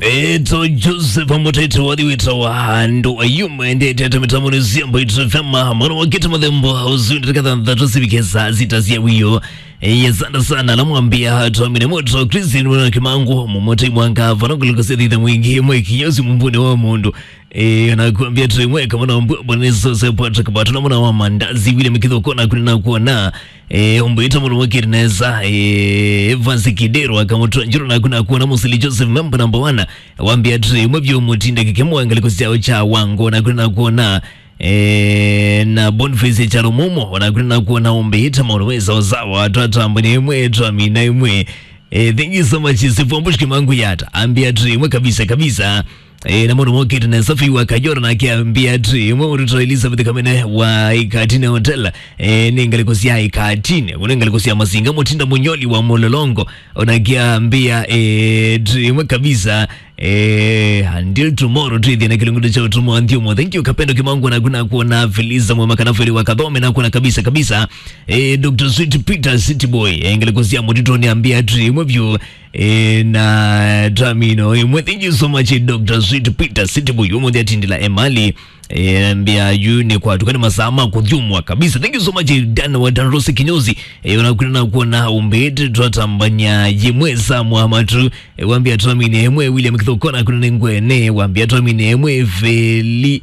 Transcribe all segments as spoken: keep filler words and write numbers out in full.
Eto Joseph Amutete wathi wĩtawa andũ ayuma endete ata mĩtambo nĩ siamba itũfema mwana wa kĩta mathembo ũsu ndĩrĩka thanthatũ sivike saa sita cia wĩoo. Eye sana sana namwambia twamine moto Christine mwana Kimangu mũmote mwanga vana kuliko sethitha mwingi mwe kinyozi mumbuni wa mũndũ. Eh, nakwambia tu imwe kama na mbwa bwana Yesu se Patrick Batu na mwana wa mandazi vile mikitho kona kuna na kuona. Eh, umbuita mwana wake neza. Eh, Evans Kidero akamutwa njiro na kuna kuona Musili Joseph member number one. Wambia tu imwe vyo mutinda kikemo angali kusiao cha wango na kuna kuona. Eh, na Boniface cha Rumomo na kuna kuona umbuita mwana weza ozawa atata mbuni imwe twamina imwe. Eh, thank you so much Sifu Ambush Kimangu yata. Ambia tu imwe kabisa kabisa. Eh, na mũndũ mokĩte na safi wa kajora nake ambia tu imwe ũrutwa Elizabeth Kamene wa Ikatine Hotel. Eh, nĩ ngalĩko sya Ikatine, nĩ ngalĩko sya Masinga Mutinda Munyoli wa Mulolongo. Onake ambia eh, tu imwe kabisa. Eh, until tomorrow tu ithiana kilungudo cha utumo anthio mo. Thank you Kapendo Kimangu na kuna kuona Felisa Mwema kana Feli wa Kathome na kuna kabisa kabisa. Eh, Doctor Sweet Peter City Boy. Eh, ngalĩko sya Mutitoni ambia tu imwe vyo. Eh, na twamino imwe. Thank you so much Doctor Sweet Peter City Boy umuthi atindila emali. Eh, mbia yu ni kwa tukani masaa ma kuthyumwa kabisa. Thank you so much Dan wa Dan Rose Kinyozi. Eh, unakwenda na kuona umbete twatambanya yimwe saa mwamatu. Eh, wambia twamine imwe William Kithokona kuna nengwene wambia twamine imwe Feli.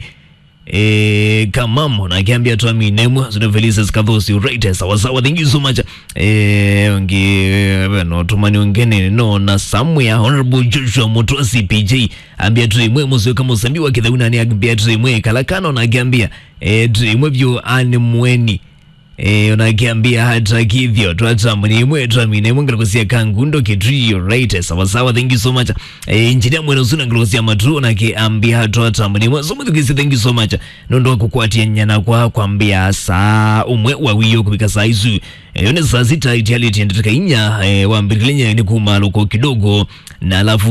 Eh, Kamamo na akiambia twamine mwa zuna Felices Kathosi right sawa sawa. Thank you so much. Eh, ongi eh, no tumani ongene no na somewhere Honorable Joshua Mutosi P J ambia tu imwe muzo kama usambi wa kithauna ni ambia tu imwe kalakano na akiambia eh, tu imwe vyo ani mweni. Eh, unakiambia hata kithio twatambuni imwe twamine imwe ngalĩko sya Kangundo Kitui right sawa sawa. Thank you so much. Eh, injinia mwene usuna ngalĩko sya matu unakiambia twatambuni imwe so muthukisi. Thank you so much nũndũ wa kũkwatĩa nyana kwa kwambia saa umwe wa wĩoo kũvika saa isu. Eh, yo nĩ saa sita itialĩtie ndatĩka inya. Eh, wambĩrĩle nyayo nĩ kuma lũko kidogo na alafu